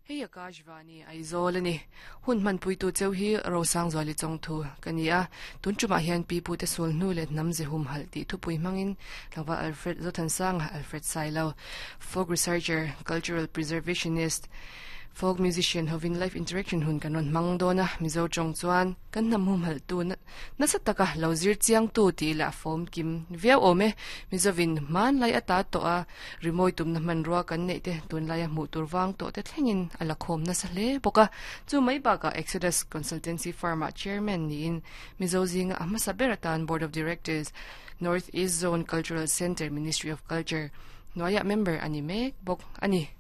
Hei Akashvani Aizawl a ni. Hun hmanpuitu cheu hi Rosangzuali Chawngthu ka ni a. Tun tumah hian Pi Pute Sulhnu leh Hnam Ze Humhalh tih thupui hmangin Tlangval Alfred Zothansanga, Alfred Sailo, Folk Researcher, Cultural Preservationist, Folk Musician hovin Live Interaction hun kan rawn hmang dawn a. Mizo tawng chuan kan hnam humhalhtu Nasa taka lo zir chiangtu tih lah fawm kim viau awm e. Mizovin hmanlai ata tawh a, rimawi tumna hmanrua kan neih te tunlaia hmuh tur vang tawh te thlengin a la khawm nasa hle bawk a. Chu mai bakah Exodus Consultancy Firm-ah Chairman niin Mizo zinga a hmasa ber atan Board of Directors, North East Zone Cultural Centre, Ministry of Culture hnuaiah member a ni mek bawk a ni.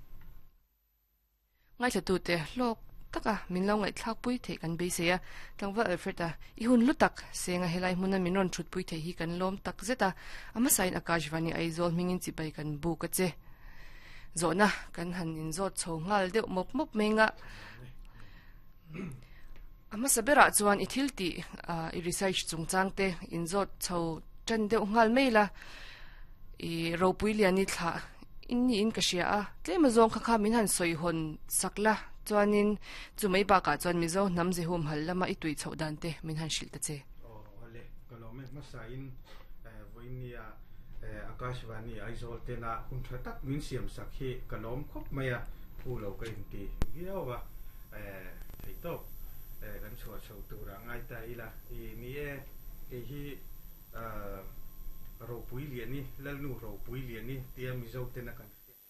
Ngaithlatute hlawk taka min lo ngaihthlakpui theih kan beisei a, Tlangval Alfred-a i hun hlu tak senga helai hmuna min rawn thutpui theih hi kan lawm tak zet a, a hmasain Akashvani Aizawl hmingin chibai kan buk a che. Zawhna kan han inzawt chho nghal deuh mawp mawp mai nga. A hmasa berah chuan i thil tih i research chungchang te inzawt chho tan deuh nghal mai la, i ropui lian i thlah in niin ka hria a, tlem azawng kha kha min han sawi hawn sak la, chuanin chu mai bakah chuan Mizo hnam ze humhal lama i tui chhoh dan te min han hrilh ta che. Aw awle, ka lawm e hmasain vawinia Akashvani Aizawl tena hun tha tak min siam sak hi ka lawm khawp mai a, phu lo ka inti viau a. Thei tawp kan chhuah chho turah ngai ta ila i ni e, kei hi Ropui Liani, Lalnu Ropui Liani tia Mizo tena kan hriat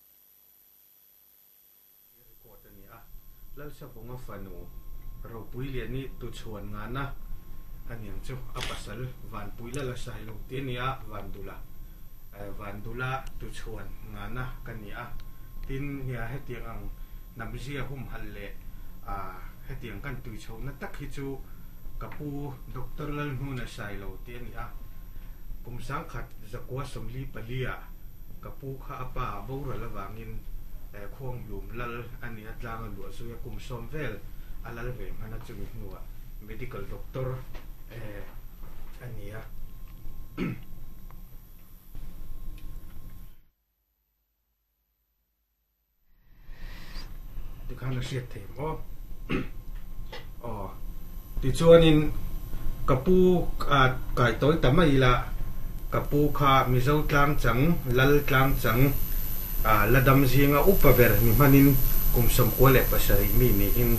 hi record a ni a, Lalsavunga fanu Ropui Liani tuchhuan ngana a niang chu a pasal Vanpui Lala Sailo ti a ni a, Vandula Vandula tuchhuan ngana ka ni a, tin nia hetiang ang Hnamzia humhalh leh hetiang kan tui chhohna tak hi chu ka pu Doctor Lalhnuna Sailo tih a ni a. Kum sangkhat zakua 44 ah ka pu kha a pa a boral avangin Khuanghlum lal a ni a, tlang a luah zui a, kum 10 vel a lal ve hman a, chumi hnuah medical doctor a ni a. Tikhan a hriat thei maw? Aw. Tichuanin ka pu kai tawi ta mai ila, ka pu kha Mizo tlang chang, Lal tlang chang, la dam zinga upa ber ni hmanin kum 97 mi niin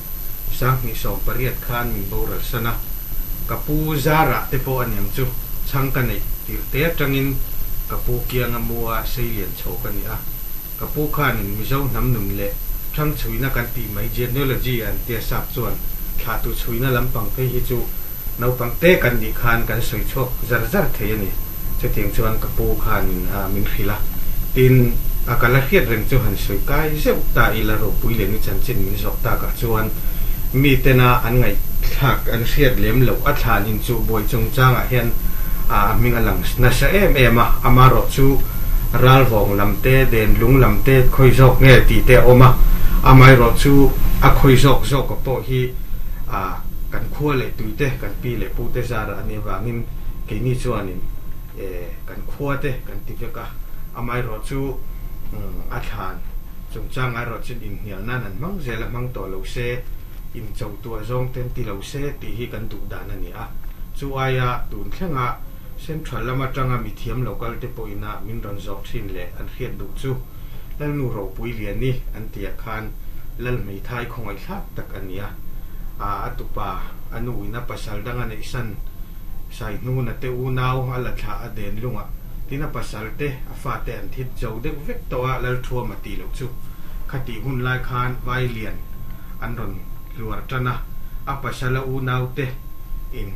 2018 khan min boral san a. Ka pu Zara te pawh aniang chu chhang ka neih tirh te atangin ka pu kianga mua seilian chho ka ni a. Ka pu khanin Mizo hnam nun leh thang chhuina kan tih mai genealogy an tia sap chuan thlahtu chhuina lampang phei hi chu naupang te kan nih khan kan sawi chhuak zar zar thei a ni. Chutiang chuan ka pu khanin min hrilh a, tin a ka la hriat reng chu han sawi kai zeuh ta ila ropui leh ni chanchin min zawk takah chuan mi tena an ngaihthlak an hriat lem loh a thlan inchuh buai chungchangah hian a hming a lang nasa em em a, amarawh chu ralvawng lam te, denlung lam te khawi zawk nge tih te a awm a, amaherawh chu a khawi zawk zawk a pawh hi kan khua leh tui te, kan pi leh pu te zarah a nih avangin keini chuanin kan khua te kan ti vek a, amaherawh chu a thlan chungchang erawh chuan inhnial nan an hmang zel a, hmang tawh lo se, incho tuah zawng te an ti lo se tih hi kan duh dan a ni a, chu aia tun thlenga Central lam atanga mithiam local te pawhina min rawn zawh thin leh an hriat duh chu Lalnu Ropui Liani an tihah khan Lal hmeithai khawngaihthlak tak a ni a, a tupa a nu in a pasal dang a neihsan Saihnuna te unau a la thlah a den lungah tin a pasal te a fate an thit zo deuh vek tawh a Lalthuam a tih loh chu khatih hun lai khan Vailian an rawn hluar tan a, a pasal a unau te in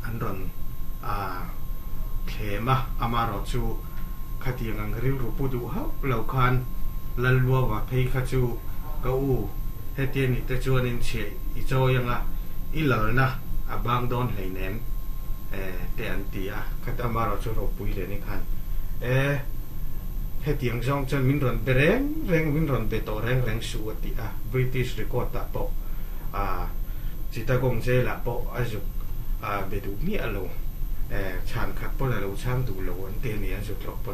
an rawn a thlem a, amarawh chu khatiang ang rilru pu duh hauh lo khan Lalluaua phei kha chu ka u hetia ni te chuanin chhiah i chawi anga i lalna a bang dawn hleinem te an ti a, khat amarawh chu ropui leh ni khan e hetiang zawng chuan min rawn be reng reng min rawn be tawh reng reng suh a ti a, British record ah pawh a Chittagong jail ah pawh a zuk a be duh miah lo, chhan khat pawn a lo chhang duh lo an ti a ni, an zuk tlawh pawn.